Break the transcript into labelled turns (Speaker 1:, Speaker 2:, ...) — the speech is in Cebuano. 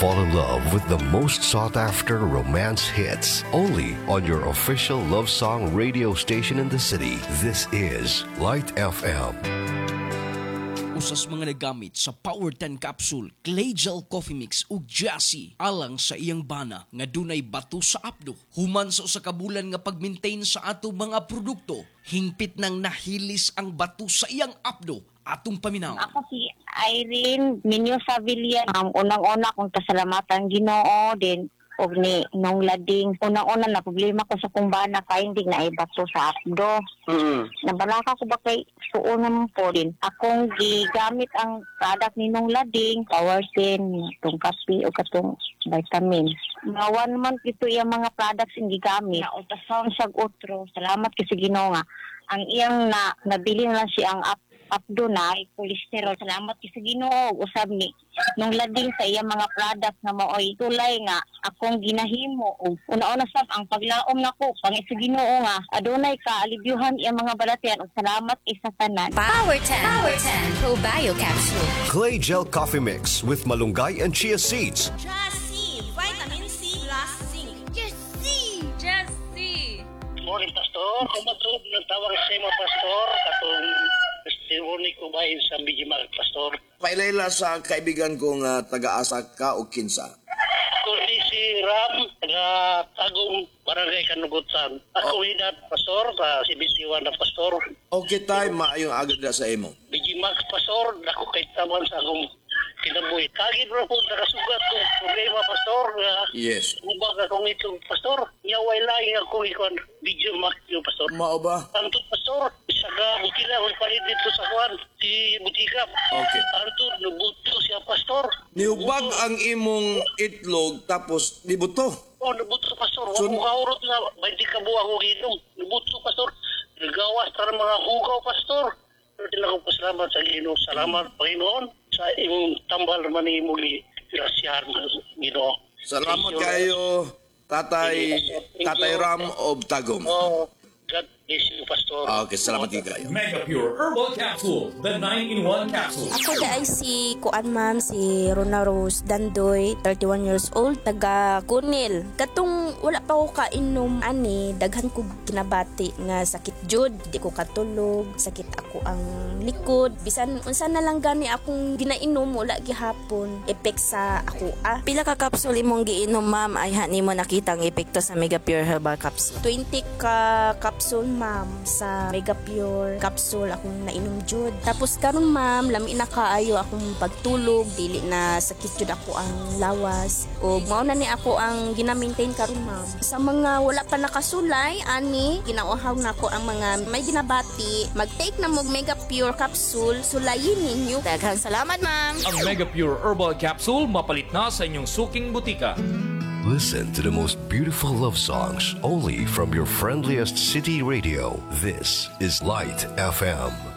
Speaker 1: Fall in love with the most sought after romance hits only on your official love song radio station in the city. This is Light FM.
Speaker 2: Usas mga nagamit sa Power 10 capsule, Clay Gel Coffee Mix ug Jassy alang sa iyang bana nga dunay bato sa apdo. Human sa usa ka bulan nga pag-maintain sa ato mga produkto, hingpit nang nahilis ang bato sa iyang apdo atong paminaw.
Speaker 3: Ako si Irene Mendoza Villa. Ang unang-una kong pasalamatan Ginoo din og ni Nong Lading. Unang-una na problema ko sa kong bana kay hindi na ibato sa apdo. Nabalaka ko ba kay suon naman po din. Akong gigamit ang product ni Nong Lading, Power 10, itong kape o katong vitamin. Mga one month ito iyang mga products ang gigamit. Na ultrasound siya otro. Salamat kasi Ginoo nga. Ang iyang na nabili na lang siya ang apdo na ay cholesterol. Salamat kay sa Ginoo usab ni Nong Lading sa iyang mga product na maoy tulay nga akong ginahimo og una-una sab ang paglaom nako pang sa Ginoo nga adunay kaalibyuhan iyang mga balatian ug salamat isa tanan.
Speaker 4: Power 10. Power 10 Probio Capsule.
Speaker 1: Clay Gel Coffee Mix with malunggay and chia seeds.
Speaker 5: Just C, vitamin C plus zinc. Just C.
Speaker 6: Just C.
Speaker 7: Morning, Pastor. Kung matulog ng tawag sa imo, Pastor, katong testimony ko ba sa Mijimal, Pastor?
Speaker 8: Pailayla sa kaibigan kong taga-asa ka o kinsa.
Speaker 7: Ako ni si Ram, taga Tagum, Barangay Kanugutan. Ako oh. Edad, Pastor, sa 71 na, Pastor.
Speaker 8: Okay tay, maayong agad na sa imo.
Speaker 7: Bijimax, Pastor, dako kay taman sa akong kinabuhi. Kagid ra po nakasugat kong problema, Pastor. Nga, Ubag akong itong, Pastor. Nya way laing akong ikuan, video max yung, Pastor.
Speaker 8: Mao ba?
Speaker 7: Anto, Pastor, isa ka, butila, akong palit dito sa kuan, si Butika. Anto, nubuto siya, Pastor.
Speaker 8: Niubag ang imong itlog tapos nibuto.
Speaker 7: Oh, nubuto, Pastor. Wa ko kaurot nga, 20 ka buwa ko ginom. Nubuto, Pastor. Nagawas tara mga hugaw, Pastor. Pero tinakong pasalamat sa Ginoo. Salamat, Panginoon, sa imong tambal man imong grasyahan, Ginoo.
Speaker 8: Salamat
Speaker 7: Thank you.
Speaker 8: kayo, Tatay
Speaker 7: Thank
Speaker 8: Tatay
Speaker 7: you.
Speaker 8: Ram of Tagum.
Speaker 7: Oh, God bless you, Pastor.
Speaker 8: Okay, salamat kayo.
Speaker 9: Mega Pure Herbal Capsule, the 9-in-1 capsule.
Speaker 10: Ako da ay si Kuan ma'am, si Rona Rose Dandoy, 31 years old, taga Kunil. Katong wala pa ko kainom ani, daghan ko ginabati nga sakit jud, di ko katulog, sakit ako ang likod. Bisan unsa na lang gani akong ginainom, wala gihapon epek sa ako ah.
Speaker 11: Pila ka capsule imong giinom, ma'am, ay hani mo nakita ang epekto sa Mega Pure Herbal Capsule?
Speaker 10: 20 ka capsule ma'am sa Mega Pure capsule akong nainom jud. Tapos karon ma'am, lami na kaayo akong pagtulog, dili na sakit jud ako ang lawas. O mao na ni ako ang gina-maintain karon ma'am. Sa mga wala pa nakasulay ani, ginauhaw nako ang mga may ginabati, mag-take na mo Mega Pure capsule, sulayin ninyo.
Speaker 11: Daghang salamat, ma'am.
Speaker 9: Ang Mega Pure Herbal Capsule mapalit na sa inyong suking butika.
Speaker 1: Listen to the most beautiful love songs only from your friendliest city radio. This is Light FM.